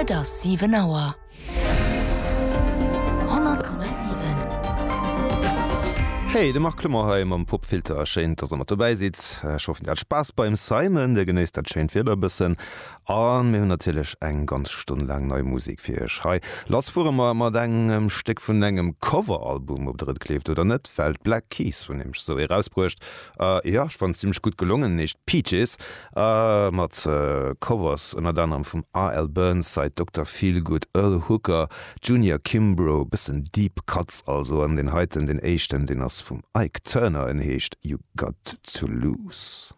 Et ass 7 Auer. 100,7. Hey, de Marc Clement hei mam Popfilter. Schéin, dass der mat dobäi sidd. Ech hoffen, dir hat Spaass beim Simon, dir genéisst dat schéint Wieder e bëssen. A mir hunn natierlech eng ganz Stonn laang nei Musek fir iech hei. Lass fuere mer mat engem Stéck vun engem Coveralbum, ob der et gleeft oder net, well d'Black Keys hunn nämlech esou ee rausbruecht. Jo, ech fannen zimmlech gutt gelongen, heescht Peaches, mat Covers ënnert anerem vum AL Burnside, Dokter Feelgood, Earl Hooker, Junior Kimbrough, bëssen Deep Cuts also. An deen heiten, deen éischten, deen ass vum Ike Turner, en heescht You Got To Lose.